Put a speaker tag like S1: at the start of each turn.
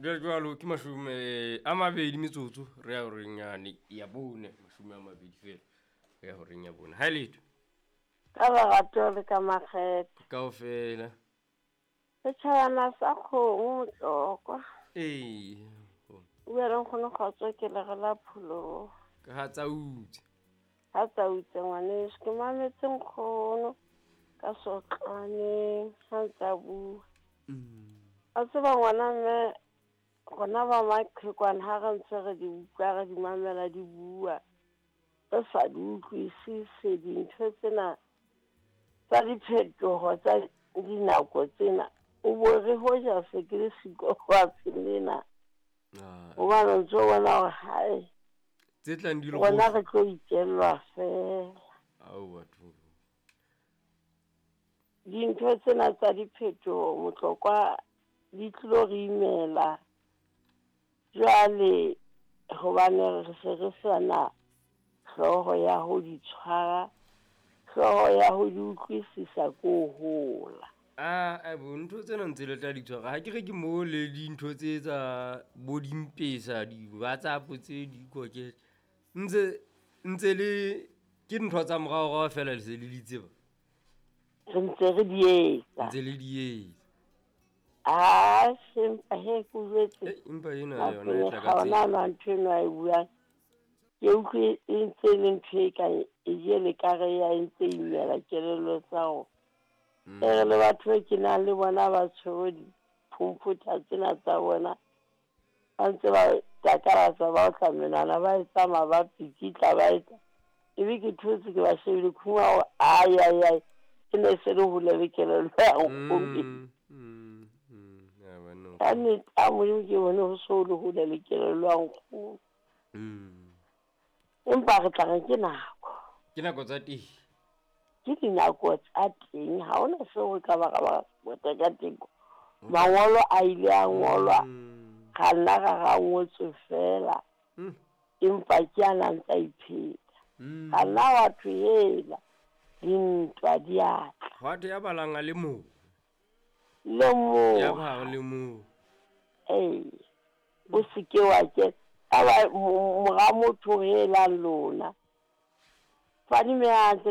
S1: Jwale jwalo ke 20 metsotso re ya horeng yane ya 4, 20 feela re ya horeng ya 4. Ha e letho.
S2: Ka lerato le ka makgethe.
S1: Kaofela.
S2: Setjhabana sa kgomo motlokwa.
S1: Ee.
S2: O bua le nkgono Kgotso ke lere la pholoho.
S1: Ka ha tsautse.
S2: Ha tsautse ngwaneso ke mametse nkgono ka sotlwaneng ha ntse a bua. A tseba ngwana mme rona ba maqhekwana ha re ntse re di utlwa re di mamela di bua re sa di utlwisise dintho tsena tsa diphetoho tsa dinako tsena. O bo re hoja se ke le siko fatshe lena. Hobane o ntso bona hore hae
S1: tse tlang di le
S2: rona re tlo itjellwa fela.
S1: Ao batho.
S2: Dintho tsena tsa diphetoho motlokwa di tlilo re imela. Jwale hobane re se re sana hlooho ya ho di tshwara, hlooho ya ho di utlwisisa ko hola.
S1: Ah, bo ntho tsena ntse le tla di tshwara. Ha ke re ke mo le dintho tse tsa bo dimpesa, di-WhatsApp tse di koke. Ntse le ke ntho tsa moraorao feela le se le di tseba.
S2: Re ntse re di etsa.
S1: Ntse le di etsa.
S2: Ah, empa he ke jwetse.
S1: Empa ena yona e tla ka
S2: tsela. Ona ntho eno a e buang. Ke utlwe e ntse le ntho e ka e jele ka re ya e ntse imela kelello tsa rona. E re le batho ke nang le bona ba tshwere diphomphutha tsena tsa bona. Ba ntse ba takalatsa ba otla menwana ba e tsamaya ba pikitla ba etsa. Ebe ke thotse ke ba shebile khuma hore ai ai ai e ne se le hole le kelello ya nkgono. Ka nnete a Modimo ke bone ho so le hole le kelello ya nkgono. Empa re tla re ke nako.
S1: Ke nako tsa teng.
S2: Ke dinako tsa teng, ha hona seo re ka ba ra ba bota ka teng. Mangolo a ile a ngolwa, ra nna ra ra ngotswe fela. Empa ke a nang tsa ipheta. Ra nna wa thwe hela, dintwa di a tla.
S1: Hwa thwe ya balang a le mong.
S2: Le mong.
S1: Ya ba le mong.
S2: Ee, o se ke wa ke aba mora motho helang lona. Fadime hantle.